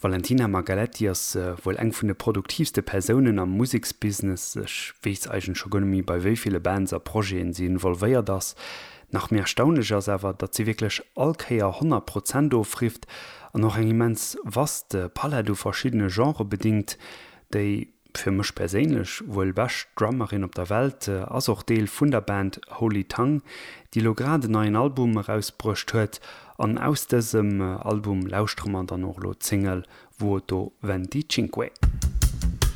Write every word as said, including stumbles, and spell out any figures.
D'Valentina Margaletti ass wuel eng vun de produktiivste Persounen am Museksbusiness, ech weess eigentlech scho guer net méi, bei wéi ville Bands a Projeten si involvéiert ass. Nach méi erstaunlech ass awer, datt si wierklech all Kéier honnert Prozent ofrifft an och eng immens vast Palett u verschiddene Genrë bedingt. Déi, fir mech perséinlech, wuel bescht Drummerin op der Welt ass och Deel vun der Band Holy Tongue, déi elo grad en neien Album erausbruecht huet. An aus dësem Album lauschtere mer dann och elo d'Single Vuoto Venticinque.